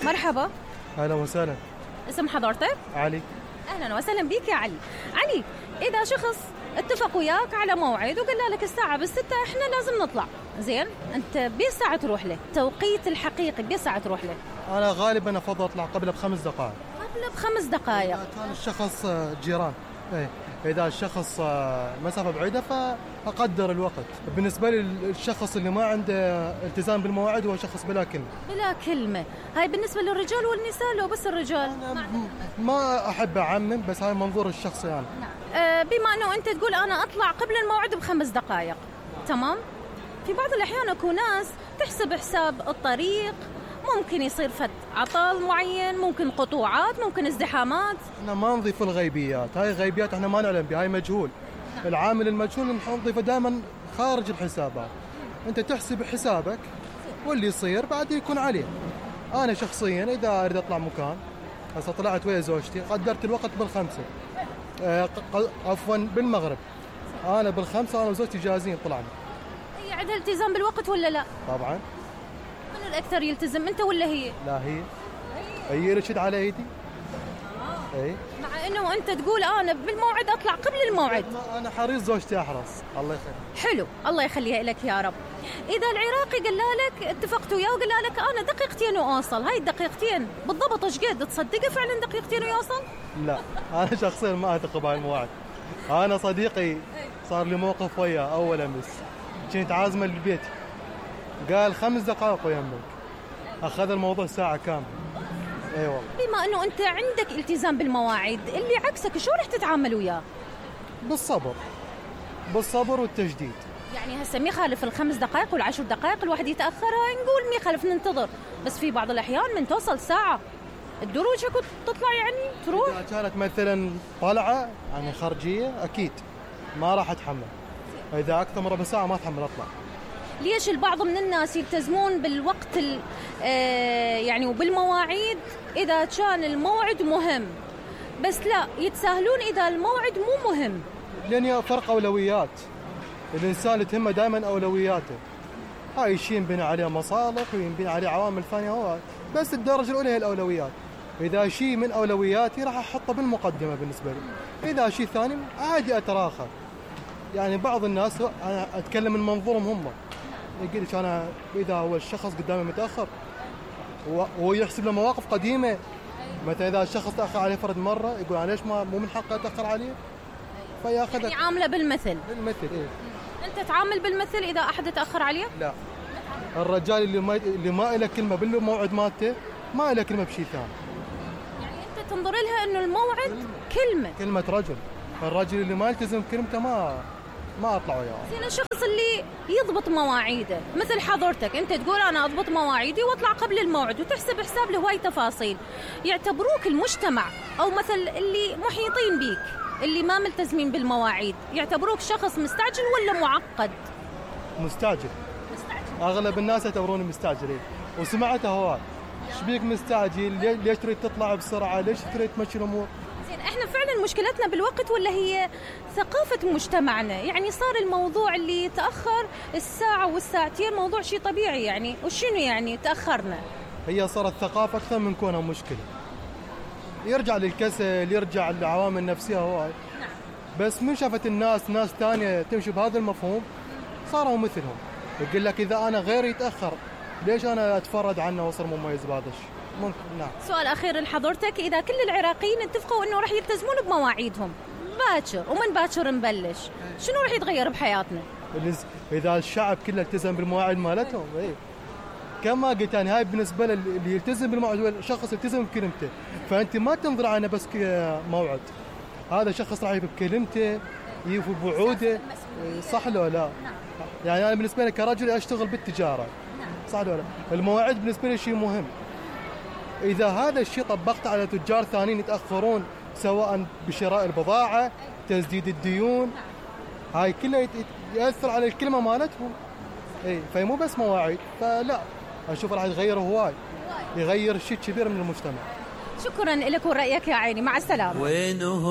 مرحبا. أهلا وسهلا. اسم حضرتك؟ علي. أهلا وسهلا بك يا علي. علي، إذا شخص اتفق وياك على موعد وقال لك الساعة بالستة إحنا لازم نطلع، زين أنت بساعة تروح له، توقيت الحقيقي بساعة تروح له؟ أنا غالبا أفضل أطلع قبل ب5 دقائق. قبل ب5 دقائق؟ إذا كان الشخص جيران، إذا الشخص مسافة بعيدة فأقدر الوقت. بالنسبة لي الشخص اللي ما عنده التزام بالمواعيد هو شخص بلا كلمة. بلا كلمة. هاي بالنسبة للرجال والنساء لو بس الرجال؟ ما أحب أعمم، بس هاي منظور الشخصي يعني. بما أنه أنت تقول أنا أطلع قبل الموعد ب5 دقائق، تمام؟ في بعض الأحيان أكو ناس تحسب حساب الطريق، ممكن يصير فت عطل معين، ممكن قطوعات، ممكن ازدحامات. احنا ما نضيف الغيبيات، هاي غيبيات احنا ما نعلم بها، هاي مجهول. العامل المجهول نضيفه دائما خارج الحسابات. انت تحسب حسابك واللي يصير بعد يكون عليه. انا شخصيا اذا اريد اطلع مكان، هسه طلعت ويا زوجتي قدرت الوقت ب5، عفوا بالمغرب، انا ب5 انا وزوجتي جاهزين طلعنا. هي عندها التزام بالوقت ولا لا؟ طبعا. من الأكثر يلتزم، أنت ولا هي؟ لا هي اللي تشد على ايدي. اي مع انه انت تقول انا بالموعد اطلع قبل الموعد. انا حريص زوجتي احرص. الله يخليك. حلو، الله يخليها لك يا رب. اذا العراقي قال لك اتفقت وياه وقال لك انا دقيقتين واوصل، هاي الدقيقتين بالضبط ايش قد تصدقه فعلا دقيقتين ويوصل؟ لا انا شخصيا ما اثق بهاي المواعيد. انا صديقي صار لي موقف وياه اول امس، كنت عازمه للبيت، قال 5 دقائق ويمك، اخذ الموضوع ساعه كامله. اي والله. بما انه انت عندك التزام بالمواعيد، اللي عكسك شو رح تتعامل وياه؟ بالصبر والتجديد. يعني هسه ما يخالف ال5 دقائق وال10 دقائق الواحد يتاخرها، نقول ما يخالف ننتظر، بس في بعض الاحيان من توصل ساعه الدروج كنت تطلع يعني تروح. اذا كانت مثلا طلعه يعني خارجيه اكيد ما راح اتحمل، اذا اكثر من ربع ساعه ما اتحمل اطلع. ليش البعض من الناس يلتزمون بالوقت يعني وبالمواعيد إذا كان الموعد مهم، بس لا يتساهلون إذا الموعد مو مهم؟ لأن فرق أولويات، الإنسان اللي تهمه دائما أولوياته، هاي الشيء ينبني عليه مصالح وينبني عليه عوامل ثانية هواي، بس الدرجة الأولى هي الأولويات. إذا شيء من أولوياتي راح أحطه بالمقدمة بالنسبة لي، إذا شيء ثاني عادي أتراخى. يعني بعض الناس أنا أتكلم من منظورهم هم، يقول لك أنا إذا هو الشخص قدامي متأخر وهو يحسب له مواقف قديمة، مثلا إذا الشخص تأخر عليه فرد مرة يقول أنا ليش مو من حقه أتأخر عليه، فياخذ يعني عامله بالمثل. إيه. أنت تعامل بالمثل إذا أحد تأخر عليه؟ لا، الرجال اللي ما له كلمة بالموعد مالته ما له كلمة بشيء ثاني. يعني أنت تنظر لها إنه الموعد كلمة رجل، الرجل اللي ما يلتزم كلمته ما أطلع وياه. زين الشخص اللي يضبط مواعيده مثل حضرتك، أنت تقول أنا أضبط مواعيدي وأطلع قبل الموعد وتحسب حساب لهواي تفاصيل، يعتبروك المجتمع أو مثل اللي محيطين بيك اللي ما ملتزمين بالمواعيد يعتبروك شخص مستعجل ولا معقد؟ مستعجل. أغلب الناس يعتبروني مستعجل، وسمعتها هواي، شبيك مستعجل؟ ليش تريد تطلع بسرعة؟ ليش تريد تمشي الأمور؟ زين احنا فعلا مشكلتنا بالوقت ولا هي ثقافة مجتمعنا؟ يعني صار الموضوع اللي يتأخر الساعة والساعتين موضوع شيء طبيعي يعني، وشنو يعني تأخرنا؟ هي صارت ثقافة أكثر من كونها مشكلة، يرجع للكسل، يرجع للعوامل النفسية هواي. بس من شافت الناس ناس تانية تمشي بهذا المفهوم صاروا مثلهم، يقول لك إذا أنا غيري يتأخر ليش أنا أتفرد عنه وأصير مميز بهذا الشيء؟ ممكن. نعم. سؤال أخير لحضرتك، إذا كل العراقيين اتفقوا إنه رح يلتزمون بمواعيدهم باكر ومن باكر نبلش، شنو رح يتغير بحياتنا؟ إذا الشعب كله التزم بالمواعيد مالتهم، كما قلت أنا هاي بالنسبة اللي يلتزم بالموعد هو شخص يلتزم بكلمته، فأنت ما تنظر عنه بس موعد، هذا شخص راح يفي بكلمته يفي بوعوده، صح لو لا؟ يعني أنا بالنسبة لي كرجل أشتغل بالتجارة، صح لو لا؟ المواعيد بالنسبة لي شيء مهم. إذا هذا الشيء طبقته على تجار ثانيين يتأخرون سواء بشراء البضاعة، تسديد الديون، هاي كلها يأثر على الكلمة مالتهم. فهي مو بس مواعيد، فلا أشوف راح يتغير هواي، يغير شيء كبير من المجتمع. شكرا لك ورأيك يا عيني، مع السلامة.